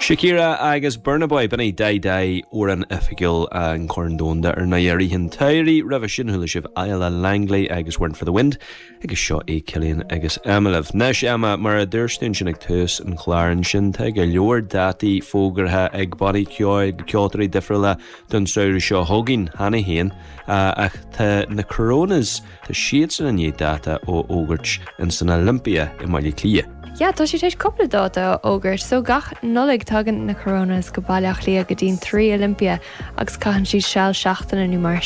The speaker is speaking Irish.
Shakira agus Burna Boy, b'in é Dai Dai, amhrán oifigiúil an Chorn Domhanda ar ndóigh i rith an tsamhraidh. Roimhe sin chuala sibh Isla Langley agus Weren't For The Wind agus seo é Cillian agus Emma libh. Anois Emma, mar a dúirt tú ansin ag tús an chláir ansin, tá go leor dátaí fógartha ag bannaí ceoil, ceoltóirí difriúla don samhradh seo chugainn cheana féin ach tá na Coronas, Tá siadsan i ndiaidh dáta a fhógairt in san Olympia i mBaile Átha Cliath. Yeah, tá siad tar éis cúpla dáta a fhógairt. So gach Nollaig tagann na Coronas go Baile Átha Cliath go dtí'n 3 Olympia agus caitheann siad seal seachtaine nó mar.